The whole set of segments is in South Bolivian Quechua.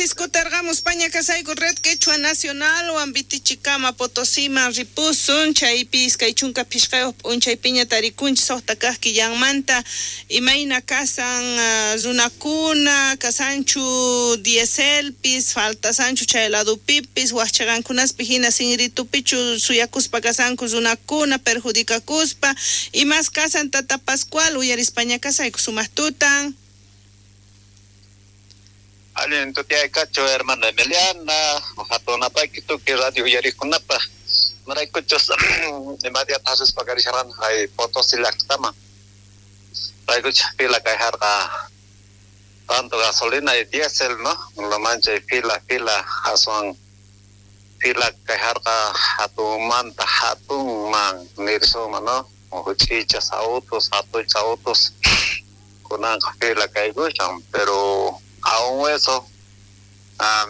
Chaywanpis kutarqamuspaña kasayku Red Quechua Nacionalwan Vitichikama Potosiman ripusun, chaypi 25 p'unchaypiña tarikunchis 6 kaq killanmanta, imayna kasan runakuna, kasanchu dieselpis, faltasanchu chay ladupipis, waqchaqankunaspi hina sinritupichu suyakuspa kasanku runakuna perjudikakuspa, imas kasan Tata Pascual, uyarispaña kasayku sumaq tutan. Allin tutaykachu hermana Emiliana, hatunapayki tukuy radio uyariqkunapaq. Maraykuchus imadiata hasuspa karisharqan hay Potosí llaqtaman. Raykuchus fila kayharqa tanto gasolina y diésel, ¿no? Lo manchay fila, fila, aswan fila kayharqa hatunmanta hatunman nirsuma, ¿no? Huch'ichas autos, hatuchas autos, kunanqa fila kaykushan, pero aún eso,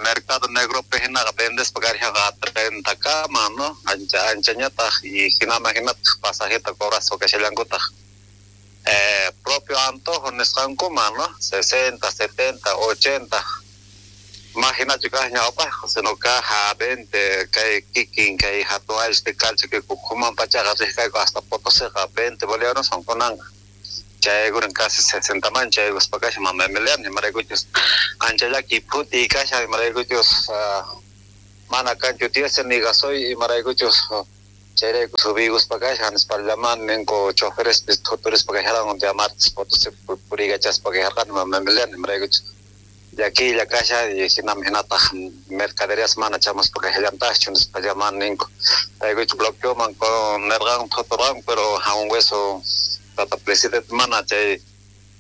mercado negro hinaqa vendespa karishaqa 30 kama, ¿no? Ancha anchañataq y hinama hinataq pasajeta cobraspa kashallankutaq. Propio antojo nisqankuman, ¿no? 60, 70, 80. Más hinachu kaq ñawpaq, sino kaq 20, kay kikin, kay hatun ayllupi kalcha que kuman pachaqa riqkayku hasta Potosíqa 20 bolivianos son kunanqa. Chaykunan casi 60 man chaykuspa kashan mama Emiliana, imaraykuchus ancha llaki phuti kashan, imaraykuchus mana kanchu diésel ni gasoil, imaraykuchus chayrayku subiykuspa kashan nispallaman ninku choferespis thuturispa kasharqan día martes Potosí puriykachaspa kasharqani mama Emiliana, imaraykuchus llakiylla kashan y hinam hinataq mercaderías mana chamuspa kashallantaqchu nispallaman ninku. Raykuchu bloqueoman nerqan thuturqan, pero aún eso tata presidente mana chay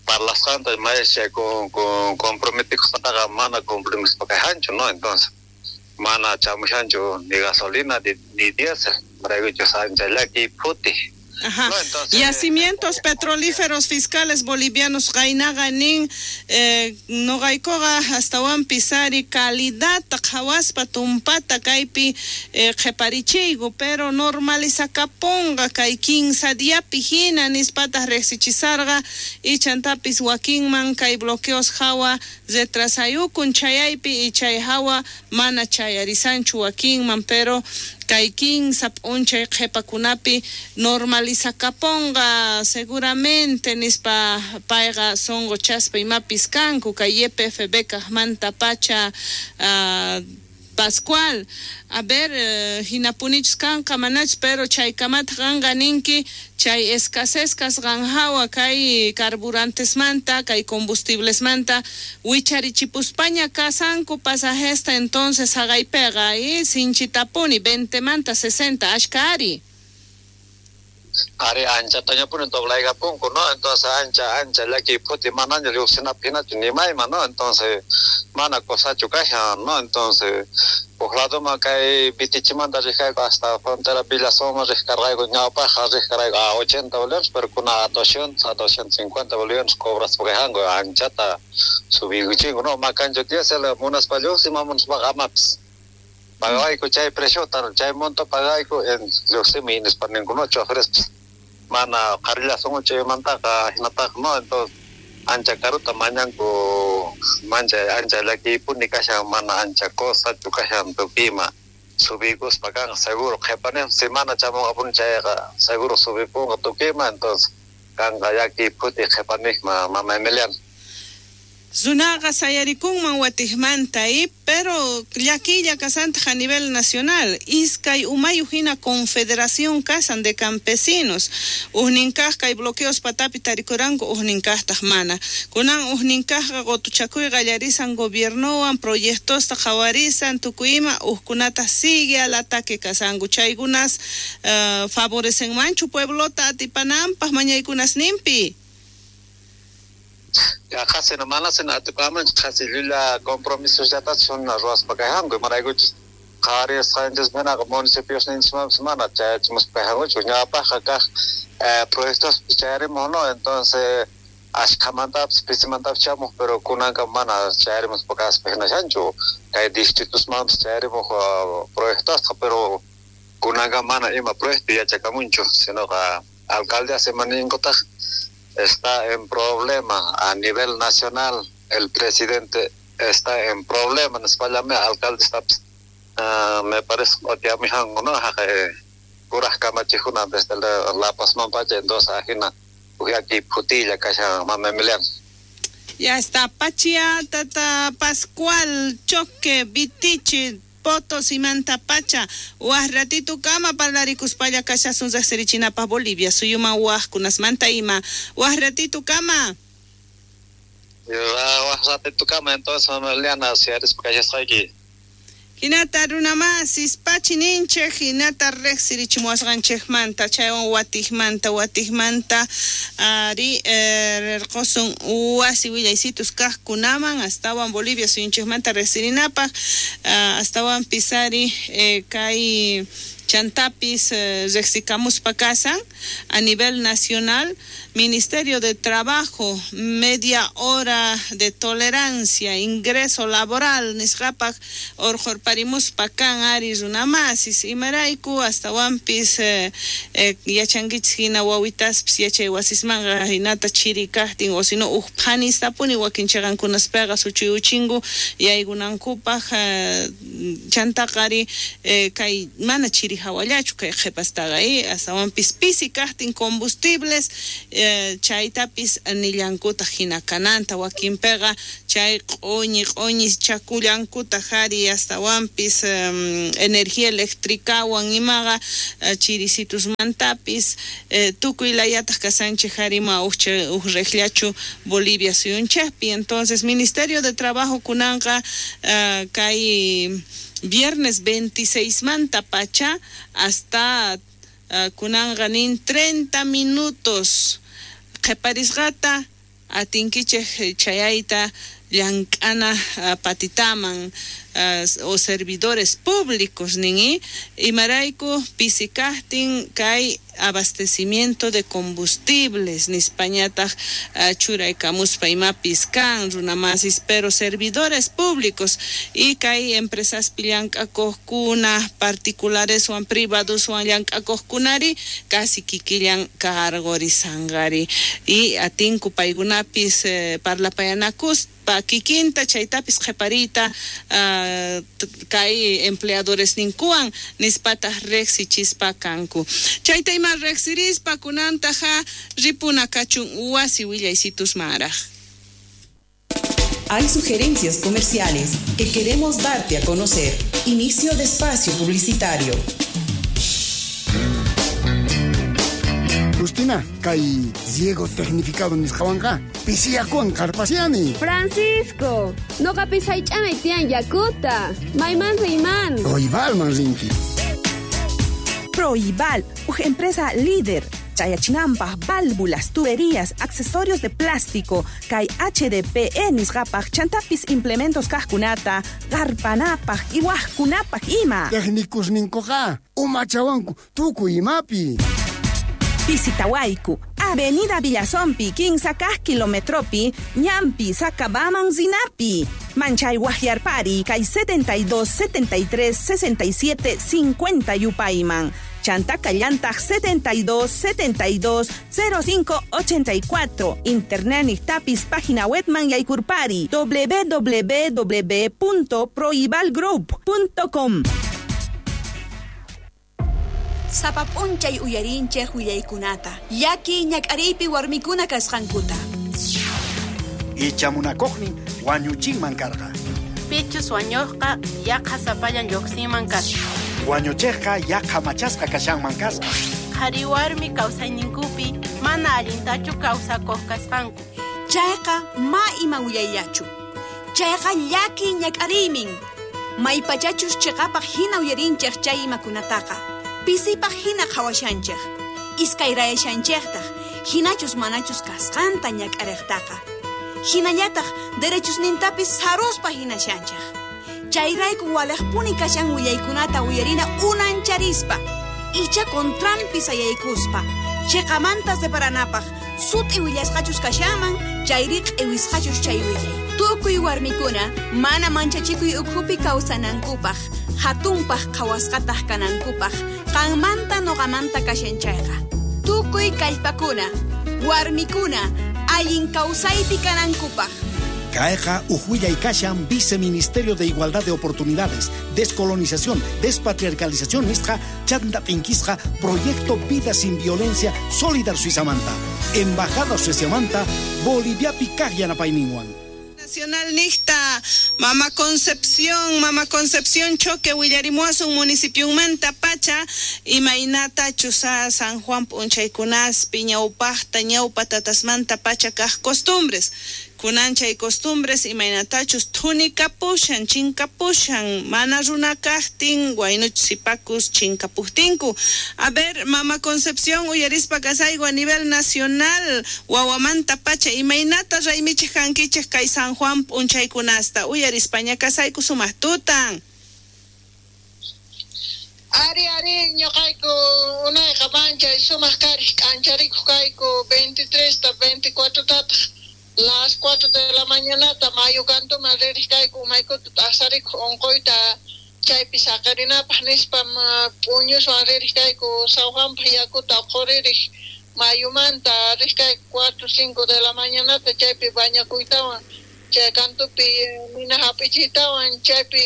parlasqanta maesha con comprometikusqantaqa mana cumplimospa kashanchu, ¿no? Entonces mana chamushanchu ni gasolina ni diésel, maraykuchus ancha llaki phuti. Ajá. No, entonces, yacimientos petrolíferos fiscales bolivianos qaynaqa nin, noqaykuqa astawanpis ari calidadta qhawaspa tumpata kaypi qheparichiyku, pero normalizakapunqa kay 15 diapi hina nispataq riqsichisarqa, ichantapis wakinman kay bloqueos hawa retrasayukun chayaypi y chay hawa mana chayarisanchu wakinman, pero kay 15 p'unchay qhipakunapi normalizakapunqa seguramente nispa payqa sonqochaspa imapis kanku kay YPFB kaqmanta pacha. Pascual, a ver, hinapunichus kanqa manachus, pero chaykamata qanqa ninki chay escasez kasqan hawa kay carburantesmanta, kay combustiblesmanta wicharichipuspaña kasanku pasajesta, entonces haqaypiqa y sinchitapuni 20 manta 60 ashka ari. Ari anchatañapuni doblaykapunku, ¿no? Entonces ancha ancha llaki phuti manaña lluqsinapi hinachu nimayman, ¿no? Entonces mana cosachu kashan, ¿no? Entonces huk ladoman kay Vitichimanta riqkayku hasta frontera Villasoma riqkarqayku, ñawpaqqa riqkarqayku a 80 bolivianos, pero kuna a 200, a 250 bolivianos cobraspa kayhanku, anchata subiykuchinku, ¿no? Makanchu diésel munaspa lluqsin, mamunaspaqa amapis. Pagayku chay preciota, chay monto pagayku en lluqsimi nispa ninku, ¿no? Choferespis mana qharillasunku chaymantaqa hinataqa, ¿no? Entonces ancha karuta mañanku, mancha ancha llakiypuni kashan, mana ancha cosachu kashan tukuyma subiykuspa kanqa seguro qhipani semana chamunqapuni chayqa seguro subipunqa tukuyma, entonces kanqa llakiy phuti qhipanijma mama Emiliana. Runaqa sayarikunman watiqmanta, pero llakiylla kasantaq a nivel nacional, iskay umayuq hina confederación kasan de campesinos, ujnin kaq kay bloqueos patapi tarikuranku, ujnin kaqtaq mana. Kunan ujnin kaqqa qutuchakuy qallarisan gobiernowan, proyectosta qhawarisan, tukuy ima, ujkunata sigue al ataque kasanku, chaykunas favorecenmanchu pueblota atipananpaq mañaykunasninpi. Ya qhasi no mana sino atipamanchu, qhasi llulla compromisos llatachu ruwaspa kayhanku, imaraykuchus qhawarisqanchis manaqa municipios ninchikmanpis mana chayachimuspa kayhankuchu, ñawpaqqa kaq proyectos chayarimuq, ¿no? Entonces ashkhamantapis pisimantapis chamuq, pero kunanqa mana chayarimuspa kaspa hinashanchu, kay distritosmanpis chayarimuq proyectosqa, pero kunanqa mana ima proyecto yachakamunchu, sinoqa alcaldía semaninkutaq está en problema a nivel nacional, el presidente está en problema nispallami alcaldestapis me parece q'utiamijanku no haqay kuraj kamachijkuna desde La Pazman pacha entonces ajina ujyaki phutilla kashan mama Emiliana. Ya está Pachia Tata Pascual Choque Vitichi Potosimanta Pacha waj ratito kama parlarikuspalla kashasun riqsirichinapaj Bolivia suyuman wajkunasmanta ima waj ratito kama. Waj ratito kama entonces mama Eliana siarispa kashasqayki. Hinata runamasis pachi ninchej hinata riqsirichimuwasqanchejmanta chaywan watikmanta ari rirqusun wasi willaysitus kaqkunaman astawan Bolivia suyunchejmanta riqsirinapaq astawanpis ari kay chantapis riqsikamuspa kasan a nivel nacional Ministerio de Trabajo media hora de tolerancia ingreso laboral nisqapaq urqurparimuspa kan ari runamasis imarayku astawanpis yachankichis hina wawitaspis yachay wasismanqa hinata chiri kaqtin o sino uj phanistapuni wakin chiqankunaspaqa suchuyuchinku yaykunankupaq chantaqa ari kay mana chiri hawallachu kay qhipastaqa astawanpis pisi kaqtin combustibles chaytapis nillankutaq hina kananta wakinpiqa chay q'uñi chakullankutaq ari astawanpis energía eléctricawan imaqa chirisitusmantapis tukuy layataq kasanchej ari ma uj riqllachu Bolivia suyunchejpi. Entonces Ministerio de Trabajo kunanqa kay viernes 26 manta pacha hasta kunanqa nin 30 minutos qhiparisqata atinkichej chayayta llank'ana patitaman o servidores públicos nin imarayku pisi kaqtin kay abastecimiento de combustibles nispañataq churaykamuspa imapis kan runamasis pero servidores públicos y kay empresaspi llank'akuqkuna particulareswan privadoswan llank'akuqkunari casi kikillan karqurisanqari y atinku paykunapis parlapayanakuspa kikinta chaytapis qhipariyta kay empleadores ninkuwan nispataq riqsichispa kanku chayta ima riqsirispa kunantaqa ripuna kachun wasi willaysitusmaraj. Hay sugerencias comerciales que queremos darte a conocer. Inicio de espacio publicitario. Justina, kay riego tecnificado nisqawanqa pisiyakuwan qarpasiani. Francisco, noqapis haych'anay tiyan yakuta. Mayman riyman. Proibalman rinki. Proibal, uj empresa líder. Chayachinampaj, válvulas, tuberías, accesorios de plástico, kay HDPE nisqapaj, chantapis implementos kajkunata, qarpanapaj, iwajkunapaj ima. Técnicos ninkuqa, umachawanku, tukuy imapi. Visitawayku, Avenida Villazompi, 15 kilometropi, Ñampi, Sacabaman, Zinapi. Manchay Guajiarpari, kay 72 73 67 50 Yupayman. Chantaca Llantaj 72 72 05 84. Internet tapis página webman yaykurpari www.proibalgroup.com. Sapap'unchay uyarinchej willaykunata llaki ñak'ariypi warmikuna kasqankuta. Ichamunakuqnin wañuchinman karqa. Pichus wañuqqa yaqa sapallan lluqsinman kasqa. Wañuchiqqa yaqa machasqa kashanman kasqa. Qhari warmi kawsayninkupi mana allintachu kawsakuq kasqanku. Chayqa ma ima willayllachu. Chayqa llaki ñak'ariymin. Maypachachus chiqapaq hina uyarinchej chay imakunataqa. Pisipaq hina qhawashanchej. Iskayrayashanchejtaq hinachus manachus kasqanta ñak'ariqtaqa. Hinallataq derechusnintapis saruspa hinashanchej. Chayrayku walejpuni kashan willaykunata uyarina unancharispa. Icha contranpi sayaykuspa. Chiqamanta separanapaq sut'i willasqachus kashanman chayri q'iwisqachus chay willay. Tukuy warmikuna mana manchachikuy ukhupi kawsanankupaq, hatunpaq qhawasqataq kanankupaq, qanmanta noqamanta kashan chayqa. Tukuy kallpakuna, warmikuna, allin kawsaypi kanankupaq. Kayqa uj kashan Viceministerio de Igualdad de Oportunidades, Descolonización, Despatriarcalización nisqa chanta t'inkisqa Proyecto Vida Sin Violencia Solidar Suizamanta, Embajada Sueciamanta, Boliviapi kaq yanapayninwan. Nacional Nicta, Mama Concepción Choque, willarimuasun municipiumanta pacha, imaynata chusa San Juan p'unchaykunaspi ñawpaqta ñawpa tatasmanta pacha kaq costumbres. Kunanchay costumbres imaynatachus thunikapushan chinkapushan mana runa kaqtin waynuch sipakus chinkapujtinku. A ver, Mama Concepción, uyarispa kasayku a nivel nacional wawamanta pacha imaynata raymichej kankichej kay San Juan p'unchaykunasta uyarispaña kasayku sumaq tutan. Ari ari ñuqayku unayqa manchay sumaq kariq k'ancharikuq kayku 23 ta 24 tataq las 4 de la mañanata mayu kantuman ririq kayku umaykuta t'aqsarikuq unquyta chaypi saqarinapaq nispa p'uñuswan ririq kayku San Juanpaq yakuta quririq mayumanta riq kayku 4 5 de la mañanata chaypi bañakuytawan chay kantupi nina hap'ichiytawan chaypi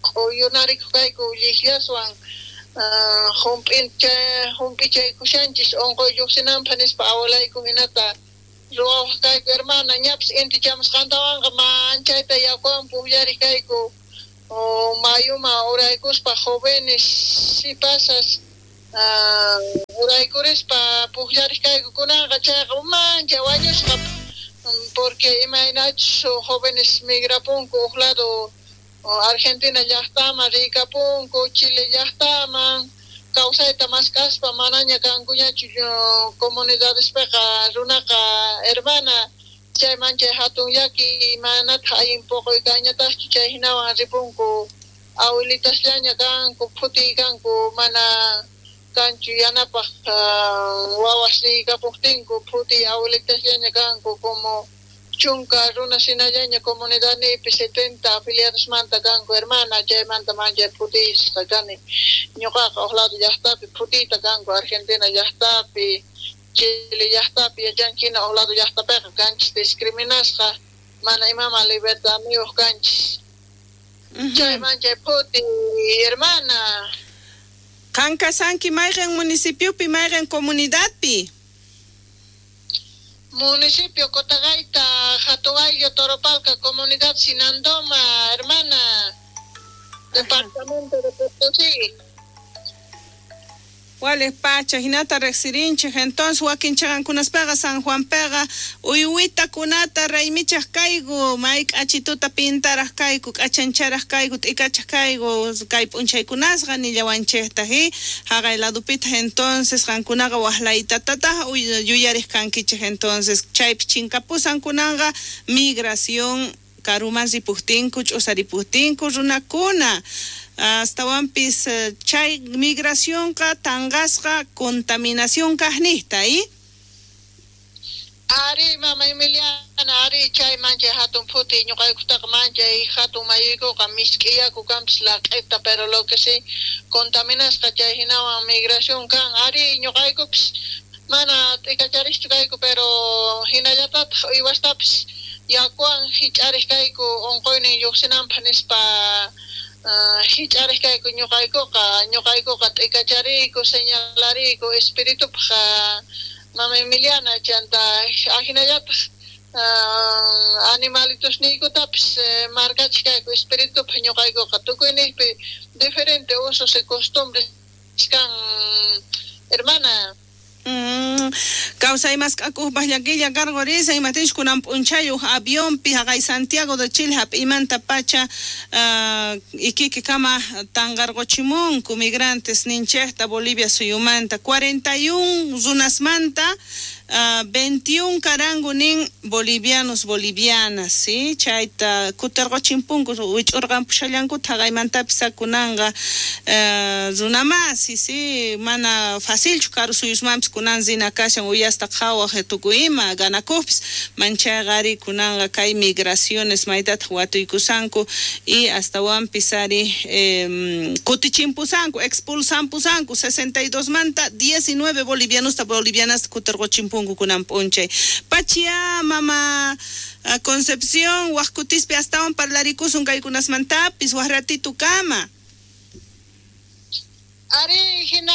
k'uyunarikuq kayku llikllaswan hump'ichaykushanchis unquy lluqsinanpaq nispa abuelayku hinata ruwawaq kayku hermana ñapis inti chamusqantawanqa manchayta yakuwan pukllariq kayku mayuma uraykuspa jóvenes sipasas uraykurispa pukllariq kayku kunanqa chayqa manchay wañusqa porque imaynachus jóvenes migrapunku uq lado Argentina llaqtaman riykapunku Chile llaqtaman kawsayta mask'aspa manaña kankuñachu comunidadespiqa runaqa hermana chay manchay hatun llaki manataq allin puquy kanñataqchu chay hinawan ripunku awilitasllaña kanku phutiy kanku mana kanchu yanapaq wawas riykapuqtinku phutiy awilitasllaña kanku como chunka runa shinallaña comunidadnipi 70 afiliadosmanta kanku hermana chaymanta manchay phutiyisqa kani ñuqaqa uq lado llaqtapi phutiyta kanku Argentina llaqtapi Chile llaqtapi yachankina uq lado llaqtapiqa kanchis discriminasqa mana imaman libertadniyuq kanchis chay manchay phuti hermana. Qan kasanki mayqin municipiopi mayqin comunidadpi? Municipio Cotagaita, Jatuayo, Toropalca, Comunidad Sinandoma, hermana, Departamento de Potosí. Wales pacha, hinata riqsirinchik, entonces wakinchaqankunaspaqa San Juanpiqa uywita kunata raymichaq kayku, may k'achituta pintaraq kayku, k'achancharaq kayku, t'ikachaq kayku, kay p'unchaykunasqa nillawanchiktaq, haqay ladupitaq entonces qankunaqa waqlaytatataq yuyariq kankichik, entonces chaypi chinkapusan kunanqa migración karuman ripujtinku, ch'usaripujtinku runakuna. Astawanpis chay migracionqa tanqasqa contaminación kaqnijta, Ari mama Emiliana, ari chay manchay hatun phuti ñuqaykutaqa manchay hatun mayuykuqa misk'i yaku kanpis laq'ita pero lo que sí contaminasqa chay hinawan migración kan ari ñuqaykupis mana t'ikachariqchu kayku pero hinallatataq uywastapis yakuwan hich'ariq kayku unquynin lluqsinanpaq nispa hich'ariq kayku ñuqaykuqa t'ikachariyku señalariyku espiritupaq mama Emiliana chanta ahinallataq animalitosniykutapis markachik kayku espiritupaq ñuqaykuqa tukuyniqpi diferente usos y costumbres kan hermana. Kawsay mask'akupaq llakilla karqurisa imatinchus kunan p'unchayuq avionpi haqay Santiago de Chile hap'imanta pacha Iquique kama tanqarquchimunku migrantes ninchikta Bolivia suyumanta 41 runasmanta 21 karangu nin bolivianos bolivianas, ¿sí? Chayta kutirquchimpunku wich'urqampushallankuta haqaymantapis kunanqa runamasi, ¿sí? Mana facilchu karu suyusmanpis kunan rina kashan uyasta qhawaq tukuy ima ganakupis manchayqa ari kunanqa kay migraciones maytataq watuykusanku y astawanpis ari kutichimpusanku expulsampusanku 62 manta 19 bolivianosta bolivianasta kutirquchimpunku. timpunku kunan p'unchay. Pachia mama Concepción, waj kutispi astawan parlarikusun kaykunasmantapis, waj ratito kama. Ari hina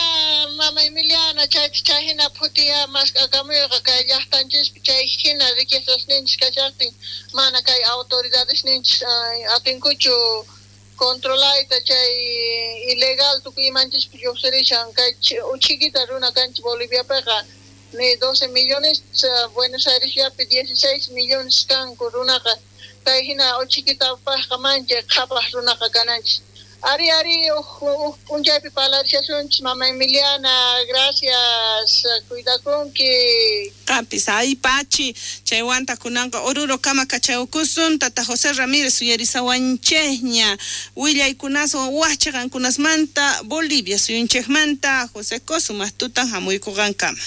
mama Emiliana chay chay hina phutiya mask'akamuyqa kay llaqtanchispi chay hina riquezas ninchis kashaqtin mana kay autoridades ninchis atinkuchu controlayta chay ilegal tukuy imanchispi lluqsirishan kay uchikita runa kanchis Boliviapiqa ni 12 millones Buenos Airesllapi 16 millones kanku runaqa kay hina uchikitapaqqa manchay qhapaq runaqa kananchis. Ari, ari, p'unchaypi parlarishasunchis, mama Emiliana, gracias, cuidakunki. Qampis, ay pachi, chaywanta kunanqa Oruro kama kachaykusun, tata José Ramírez uyarisawanchejña, willaykunaswan waj qankunasmanta, Bolivia suyunchejmanta, José Kosumaq tutan hamuykuqankama.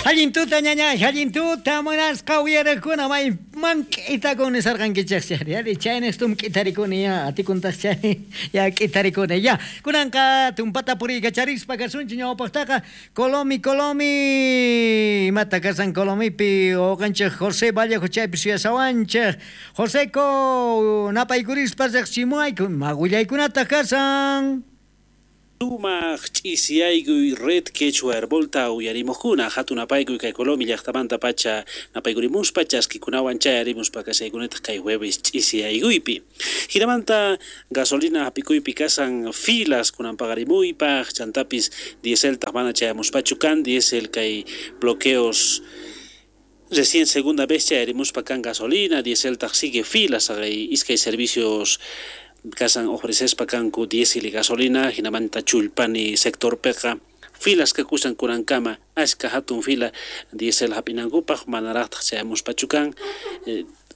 Allin tuta ñaña, allin tuta munasqa uyarakuna may man k'itakun nisarqankichej chari, chaynestum k'itarikuni ya, atikuntaq chay ya k'itarikuni ya. Kunanqa tumpata puriykacharispa kasunchik ñawpaqtaqa Colomi, Colomi, imata kasan Colomipi uqanchik José Vallejo chaypi suyasawanchik. Joseco napaykurispa riqsimuayku, ima willaykunataq kasan? Sumaq ch'isiyaykuy red quechua herbolta uyarimuqkuna hatun apaykuy kay Colomi llaqtamanta pacha napaykurimuspa chaskikunawan chayarimuspa kasaykunataq kay jueves ch'isiyaykuypi. Hinamanta gasolina hap'ikuypi kasan filas kunan paqarimuypaq chantapis dieseltaq mana chayamuspachu kan diesel kay bloqueos recién segunda vez chayarimuspa kan gasolina dieseltaq sigue filas haqay iskay servicios kasan ofrecespa kanku diésel y gasolina hinamanta chullpani sectorpiqa filas kakusan kunankama ashka hatun fila diésel hap'inankupaq manaraqtaq chayamuspachu kan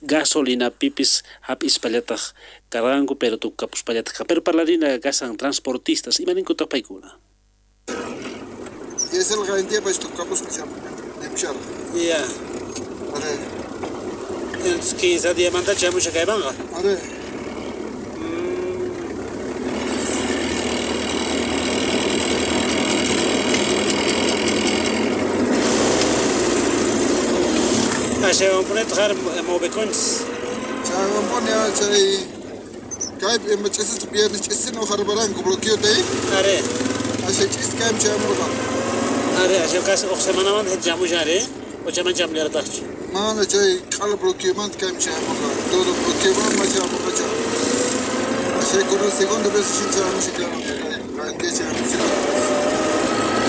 gasolina pipis hap'ispallataq karqanku pero tukapuspallataq kan pero parlarina kasan transportistas imaninkutaq paykuna. Diésel garantiapas tukapuspa chamusharqa. Ya. Are. Entonces 15 diamanta chamusha kaymanqa. Are. Chaywanpunitaq har moveconchis. Chaywanpuni chay kaypi ima ch'isista viernes ch'isina uqharparanku bloqueota Are. Asha ch'is kaymi chayamurqa. Are, asha kas uq semanamanta chamushan are, o chayman chamullarqataqchu. Mana chay q'ala bloqueomanta kaymi chayamurqa. Todo bloqueomanta chayamurqa chay. Asha kunan segunda vez shin chayamushan kay chayamushan.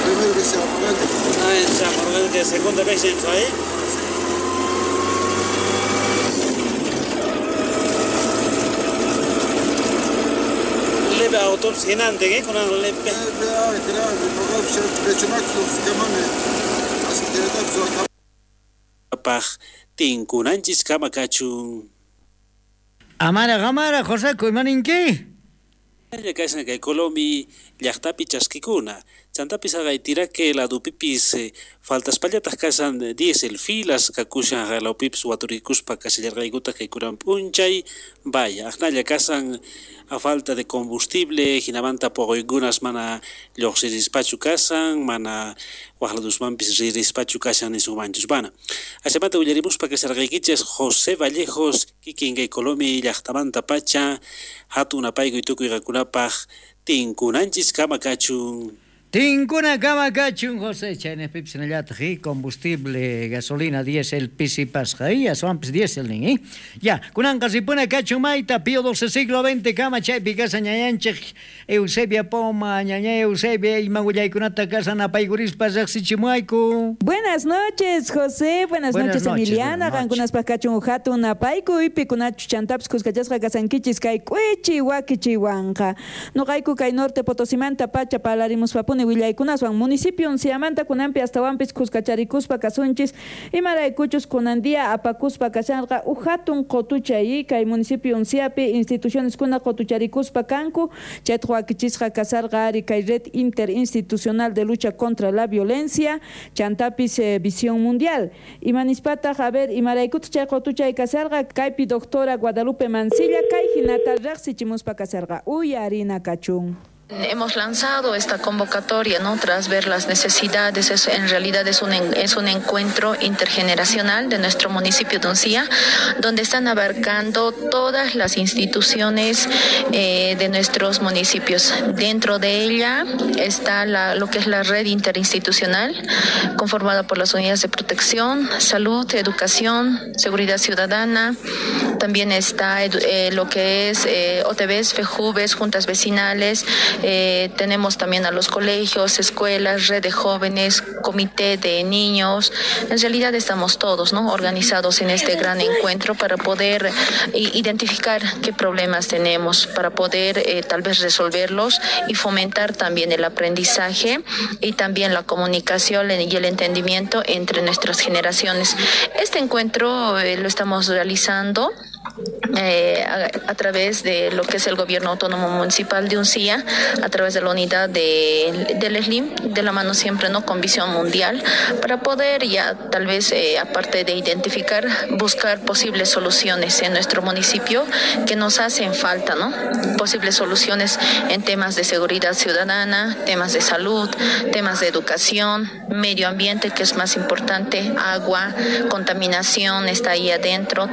Primera vez chayamurqani. Ah, chayamurqani que segunda vez chayamushan. Leve autobús hinante, ¿eh? Con el leve. Paj tinkunanchis kama kachun. Amara, amara, José, imaninki? Kashan kay Colomi llaqtapi chaskikuna. Chantapis haqay ladupipis faltaspallataq kasan diésel filas kakushan haqaylawpipis waturikuspa kashallarqaykutaq kay kunan p'unchay vaya aqnalla kasan a falta de combustible hinamanta puquykunas mana lluqsirispachu kasan mana waqladusmanpis ririspachu kashan nisunmanchus mana. Ashamanta willarimuspa kasharqaykichis José Vallejos kikin kay Colomi llaqtamanta pacha hatun apaykuy tukuy qankunapaq tinkunanchis kama kachun. Tinkuna kama kachun, José, chaynejpipis hinallataq, combustible, gasolina, diésel, pisipasqa, aswanpis diésel nin, Ya, kunanqa ripuna kachun mayta, Pío XII siglo XX kama chaypi kasa ñañanchik Eusebia Poma, ñaña Eusebia, ima willaykunata kasan apaykurispa riqsichimuayku. Buenas noches, José, buenas noches, Emiliana, qankunaspaq kachun hatun apaykuy, pikunachu chantapis kuskachasqa kasankichis kay k'uichi wakichiwanqa. Nuqayku kay norte Potosimanta pacha parlarimuspapuni willaykunaswan municipio Unciamanta kunanpi astawanpis kuskacharikuspa kasunchis imaraykuchus kunan día apakuspa kashanqa uj hatun qotuchay kay municipio Unciapi instituciones kuna qotucharikuspa kanku chaytaq wakichisqa kasarqa ari kay red interinstitucional de lucha contra la violencia chantapis visión mundial imanispataq a ver imaraykutaq chay qotuchay kasarqa kaypi doctora Guadalupe Mancilla kay hinata riqsichimuspa kasarqa uyarina kachun. Hemos lanzado esta convocatoria, ¿no? Tras ver las necesidades, en realidad es un encuentro intergeneracional de nuestro municipio de Uncía, donde están abarcando todas las instituciones de nuestros municipios. Dentro de ella está lo que es la red interinstitucional, conformada por las unidades de protección, salud, educación, seguridad ciudadana. También está lo que es OTVs, FEJUVES, juntas vecinales. Tenemos también a los colegios, escuelas, red de jóvenes, comité de niños. En realidad estamos todos, ¿no?, organizados en este gran encuentro para poder identificar qué problemas tenemos, para poder tal vez resolverlos y fomentar también el aprendizaje y también la comunicación y el entendimiento entre nuestras generaciones. Este encuentro lo estamos realizando a través de lo que es el Gobierno Autónomo Municipal de Uncía, a través de la unidad del SLIM, de la mano siempre, ¿no?, con visión mundial, para poder ya tal vez, aparte de identificar, buscar posibles soluciones en nuestro municipio que nos hacen falta, ¿no? Posibles soluciones en temas de seguridad ciudadana, temas de salud, temas de educación, medio ambiente, que es más importante, agua, contaminación está ahí adentro.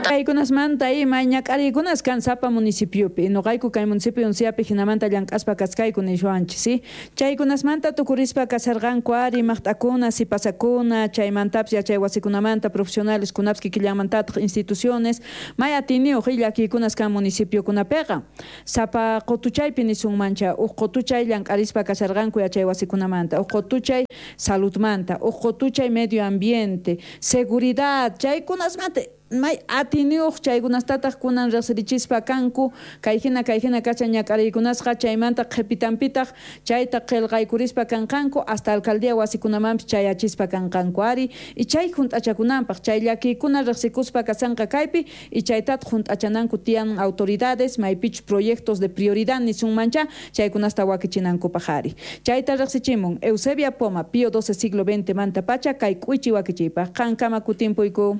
Mañak'arikunas kan sapa municipiopi noqayku kay municipio Unciapi hinamanta llank'aspa kaskayku niswanchis, ¿sí? Chaykunasmanta tukurispa kasarqanku ari maqt'akuna, sipasakuna, chaymantapis yachay wasikunamanta profesionales kunapis kikillanmantataq instituciones may atiniyuq llakiykunas kan municipiokunapiqa sapa qutuchaypi nisunmancha uq qutuchay llank'arispa kasarqanku yachay wasikunamanta, uq qutuchay saludmanta, uq qutuchay medio ambiente, seguridad, chaykunasmanta may atiniyuq chaykunastataq kunan riqsirichispa kanku kayhina kacha ñak'ariykunasqa chaymanta qhipitanpitaq chayta qillqaykurispa kanqanku hasta alcaldía wasikunamanpis chayachispa kanqanku ari y chay junt'achakunanpaq chay llakiykuna riqsikuspa kasanqa kaypi y chaytataq junt'achananku tiyan autoridades maypichus proyectos de prioridad nisunmancha chaykunasta wakichinankupaq ari chayta riqsichimun Eusebia Poma Pío XII siglo XX manta pacha kay k'uichi wakichiypaq qankama kutimpuyku.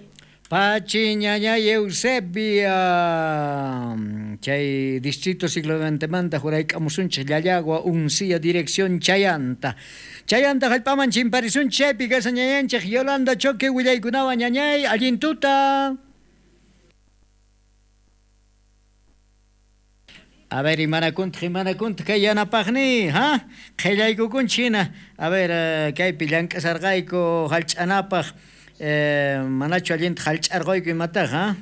Pachi ñañay Eusebia, chay distrito siglo XX manta jurayk'amusunchik Llallagua Uncía dirección Chayanta. Chayanta hallp'aman chimparisunchik chaypi kasa ñañanchik Yolanda Choque willaykunawan ñañay allin tuta. A ver, imanakuntaq kay yanapaqni, ha? Qhillaykukunchik hina. A ver, kaypi llank'asarqayku hallch'anapaq. Manachu allinta hallch'arquyku imataq, ha?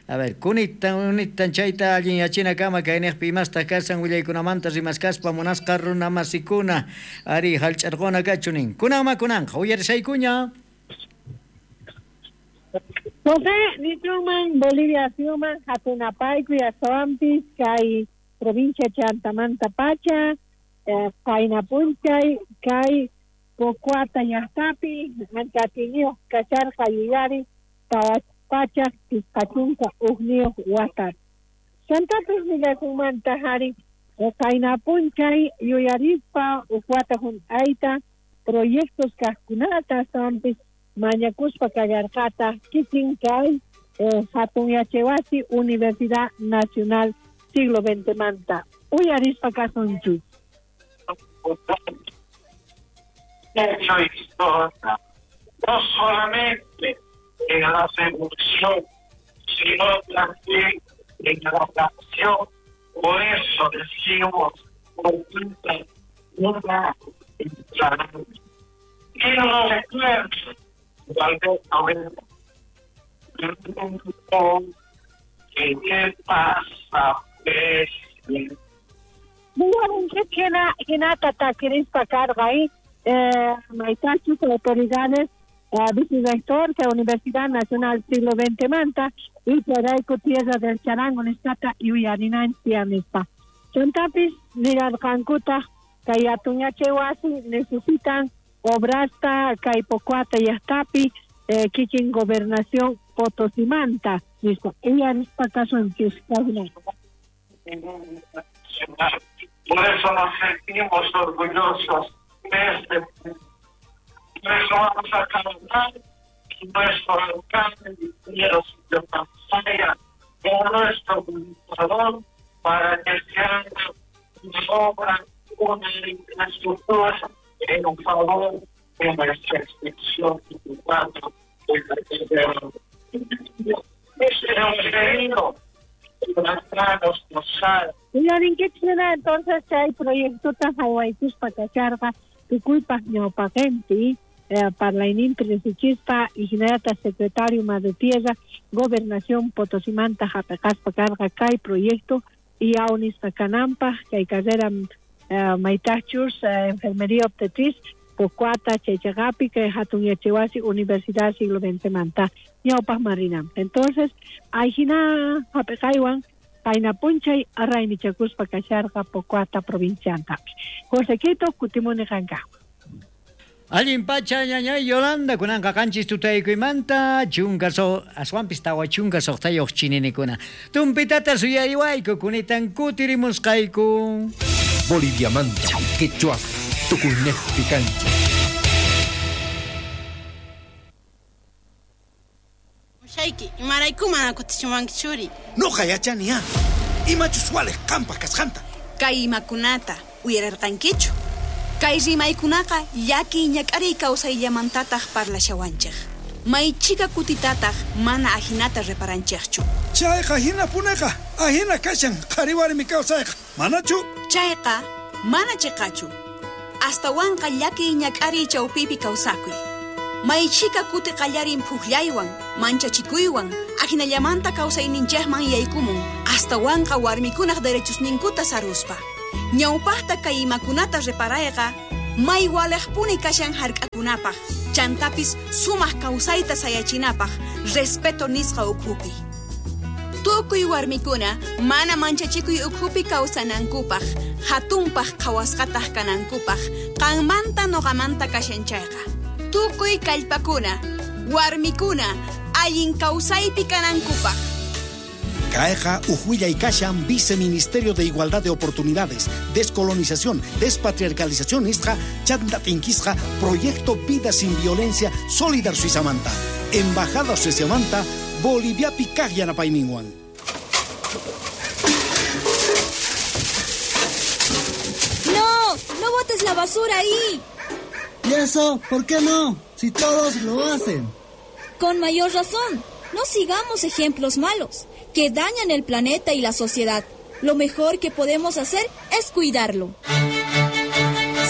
A ver, kunitan chayta allin yachinakama kayniqpi imastaq kasan willaykunamanta rimaskaspa munasqa runamasikuna ari hallch'arquna kachu nin. Kunanma kunanqa uyarisaykuña. José nichunman Bolivia suyuman hatunapayku yasawanpis kay provincia Chantamanta pacha qaynapunchay kay Pocuata llaqtapi anchatiniyuq kacharqa yuyari pachak 51 wata. Chantapis nillakunmanta hari qaynapunchay yuyarispa uj wata hunt'ayta proyectos kaqkunata astawanpis mañakuspa kallarqata kikin kay hatun yachaywasi Universidad Nacional siglo XX manta. Uyarispa kasunchis. Hecho historia, no solamente en la seducción, sino también en la acción. Por eso decimos, una y no recuerdo, tal vez ahora, ¿qué pasa? Pues, Maitachus, autoridades, vicerrector de la Universidad Nacional Siglo XX Manta y Charaico Tierra del Charango Nestata y Uyarinancia Nispa. Chantapis, Nirarcancuta, Kayatuñachewasi, necesitan obrasta, Caipocuata y Astapi, Kikin Gobernación Potosimanta. Listo. Ella Por eso nos sentimos orgullosos de este. Por eso vamos a cantar nuestro alcalde de Pansaya con nuestro gobernador para que se haga una obra una infraestructura en un favor de nuestra institución Uyarinkichik entonces chay proyectota haywaykuspa kacharqa tukuypaq ñawpaqinpi parlayninpi riqsichispa y hinallataq secretario Madre Tierra Gobernación Potosimanta hap'iqaspa karqa kay proyecto IAO nisqa kananpaq kay carrera maytaqchus enfermería obstetriz Pocuata chaychaqapi kay hatun yachaywasi Universidad Siglo XX manta ñawpaqman rinanpaq. Entonces ayhina hap'iqaywan payna p'unchay raymichakuspa kasharqa Pocuata provinciantapi. Josequito kutimuni qankaqman. Allin pacha ñañay Yolanda kunanqa qanchis tutaykuymanta chunka aswanpis 46 chininikuna. Tumpitata suyariwayku kunitan kutirimusqayku. Boliviamanta, quechua, tukuynejpi kancha. Mushayki, imarayku mana kutichiwanki churi. Noqa yachani ya. Imachus waliq qanpaq kasqanta. Kay imakunata uyararqankichu. Kay rimaykunaqa llakiy ñak'ariy kawsayllamantataq parlashawanchik. Maychika kutitataq mana ajinata reparanchikchu. Chayqa hinapuneqa, ajina kashan qhari warmi kawsayqa. Manachu? Chayqa mana chiqachu. Astawanqa llakiy ñak'ariy chawpipi kawsakuy. Maychika kuti qallarin phuqllaywan, manchachikuywan, ajinallamanta kawsayninchikman yaykumun, astawanqa warmikunaq derechosninkuta saruspa. Ñawpaqta kay imakunata reparayqa, may waliqpuni kashan hark'akunapaq, chantapis sumaq kawsayta sayachinapaq, respeto nisqa ukhupi. Tukuy warmikuna mana manchachikuy ukhupi kawsanankupaq, hatunpaq qhawasqataq kanankupaq, qanmanta noqamanta kashan chayqa. Tukuy kallpakuna, warmikuna, allin kawsaypi kanankupaq. Kayqa uj kashan Viceministerio de Igualdad de Oportunidades, Descolonización, Despatriarcalización nisqa chanta tinkisqa Proyecto Vida Sin Violencia Solidar Suizamanta, Embajada Sueziamanta, Boliviapi kaq yanapayninwan. ¡No! ¡No botes la basura ahí! ¿Y eso? ¿Por qué no? Si todos lo hacen. Con mayor razón. No sigamos ejemplos malos que dañan el planeta y la sociedad. Lo mejor que podemos hacer es cuidarlo.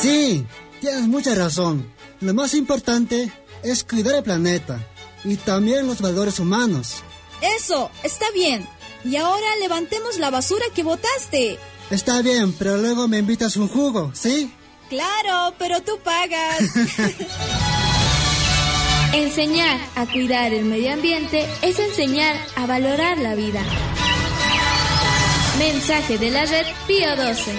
Sí, tienes mucha razón. Lo más importante es cuidar el planeta y también los valores humanos. Eso, está bien. Y ahora levantemos la basura que botaste. Está bien, pero luego me invitas un jugo, ¿sí? Claro, pero tú pagas. Enseñar a cuidar el medio ambiente es enseñar a valorar la vida. Mensaje de la red Pío 12.